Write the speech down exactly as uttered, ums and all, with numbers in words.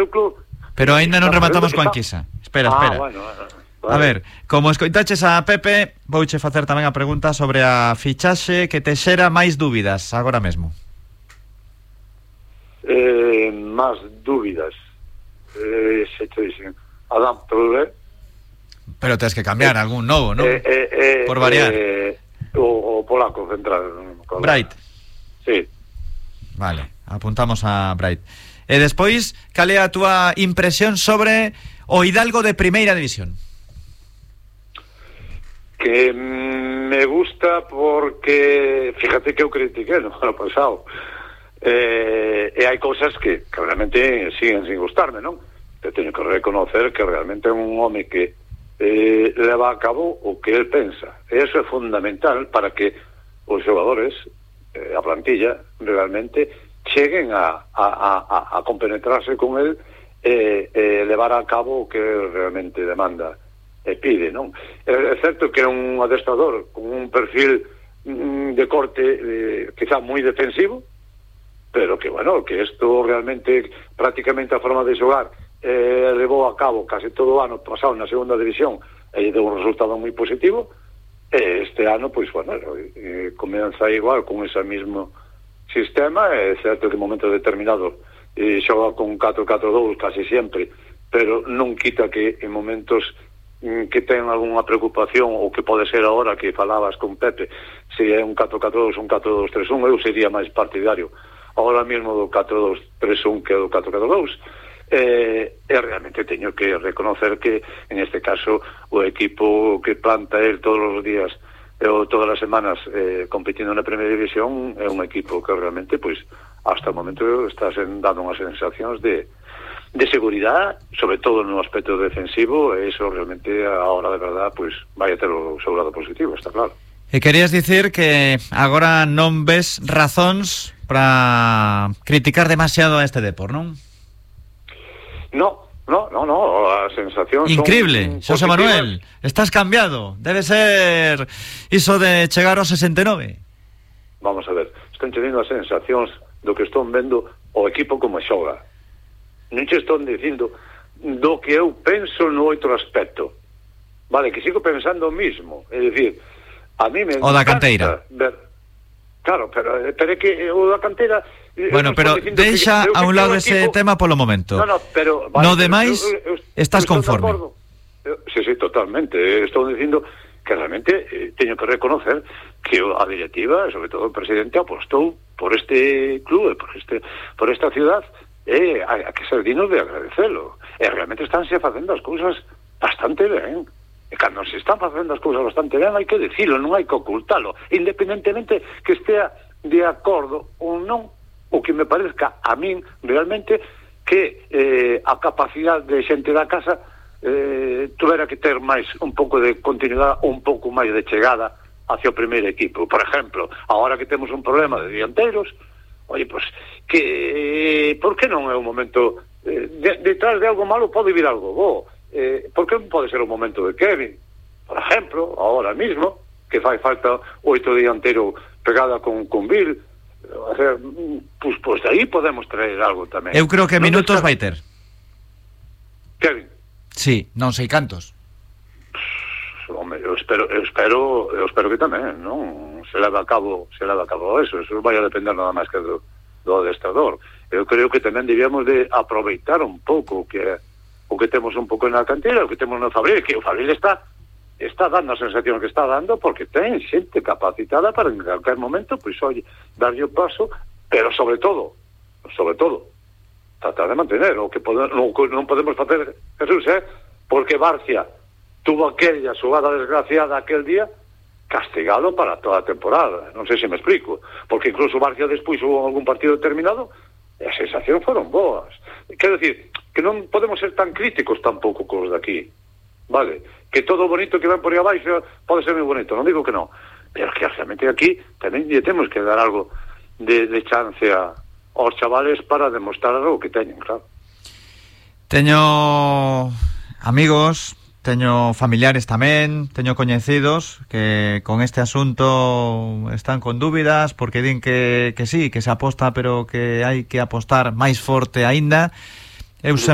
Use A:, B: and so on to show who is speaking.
A: seu club.
B: Pero aínda non rematamos coa enquisa. Espera, espera.
A: Ah, bueno, bueno.
B: A ver, como escoitaches a Pepe, vouche facer tamén a pregunta sobre a fichaxe que te xera máis dúbidas agora mesmo.
A: Eh, máis dúbidas. Eh, se te dicen, Adam Traoré.
B: Pero tens que cambiar eh, algún novo, non?
A: Eh, eh, eh,
B: Por variar.
A: Eh, o, o polaco central.
B: Bright.
A: Sí.
B: Vale, apuntamos a Bright. E despois, cal é a túa impresión sobre o Hidalgo de Primeira División?
A: Que me gusta porque fíjate que eu critiqué no ano pasado eh, e hai cousas que, que realmente siguen sin gustarme, non? Te teño que reconocer que realmente é un home que eh, leva a cabo o que el pensa, e iso é fundamental para que os xogadores, eh, a plantilla realmente cheguen a, a, a, a compenetrarse con el e eh, eh, levar a cabo o que realmente demanda e pide, non? É certo que é un adestrador con un perfil mm, de corte eh, quizá moi defensivo, pero que, bueno, que isto realmente prácticamente a forma de xogar eh, levou a cabo casi todo o ano pasado na segunda división e deu un resultado moi positivo, e este ano, pois, bueno, eh, comeza igual con ese mismo sistema. É certo que en momento determinado eh, xoga con catro catro dous casi sempre, pero non quita que en momentos que ten algunha preocupación, ou que pode ser agora que falabas con Pepe, se é un catro catro dous, un catro dous tres un, eu sería máis partidario agora mesmo do catro dous tres un que do catro catro dous. Eh, e realmente teño que reconocer que en este caso o equipo que planta el todos os días ou todas as semanas eh, competindo na Primeira División é un equipo que realmente, pois, hasta o momento está sen, dando unhas sensacións de de seguridade, sobre todo no aspecto defensivo, e iso realmente a hora de verdad, pois, vai a ter o seu lado positivo, está claro.
B: E querías dicir que agora non ves razóns para criticar demasiado a este Depor, non?
A: No, no, no, no, as sensacións
B: increíble, Xosé Manuel, estás cambiado, debe ser iso de chegar aos sesenta e nove.
A: Vamos a ver, están teniendo as sensacións do que están vendo o equipo como xoga. Non che están dicindo do que eu penso no outro aspecto. Vale, que sigo pensando o mismo. É dicir, a mí me
B: o da canteira
A: ver... Claro, pero, pero é que o da canteira...
B: Bueno, pero deixa que, a un lado ese equipo... tema polo momento.
A: No, no, pero... Vale,
B: no demais, eu, eu, eu, estás eu conforme.
A: Eu, sí, sí, totalmente. Estou dicindo que realmente eh, teño que reconocer que a directiva, sobre todo o presidente, apostou por este club, por este por esta ciudad, e eh, hai que ser dignos de agradecelo. E realmente estánse facendo as cousas bastante ben. E cando se están facendo as cousas bastante ben, hai que decilo, non hai que ocultalo, independentemente que estea de acordo ou non, o que me parezca a min realmente que eh, a capacidade de xente da casa eh, tuvera que ter máis un pouco de continuidade, un pouco máis de chegada hacia o primeiro equipo. Por exemplo, agora que temos un problema de dianteiros, oye, pues, que por que non é un momento eh, de, detrás de algo malo pode vir algo bo. Eh, por que non pode ser o momento de Kevin, por exemplo, ahora mismo, que fai falta oito dianteiro pegada con, con Bill, o sea, pues, pues de aí podemos traer algo tamén.
B: Eu creo que minutos vai ter
A: Kevin.
B: Sí, non sei cantos.
A: Home, eu espero, eu espero, eu espero que tamén, non? Se leva a cabo, se leva a cabo eso, eso vai a depender nada máis que do, do adestrador. Eu creo que tamén debíamos de aproveitar un pouco o que o que temos un pouco na cantera, o que temos no Fabril, que o Fabril está está dando a sensación que está dando porque ten xente capacitada para en calquer momento, pois, oye, darlle o paso, pero sobre todo, sobre todo, tratar de mantener o que pode, non, non podemos facer, Jesús, eh? Porque Barcia tuvo aquella xogada desgraciada aquel día, castigado para toda a temporada. Non sei se me explico, porque incluso Barcia despois hubo algún partido determinado e as sensacións foron boas. Quero dicir, que non podemos ser tan críticos tampouco cos de aquí, vale? Que todo bonito que ven por aí abaixo pode ser moi bonito, non digo que non, pero que realmente aquí tamén lle temos que dar algo de, de chance a, aos chavales para demostrar algo que teñen, claro.
B: Teño amigos, teño familiares tamén, teño coñecidos que con este asunto están con dúbidas porque din que, que sí, que se aposta, pero que hai que apostar máis forte aínda. Eu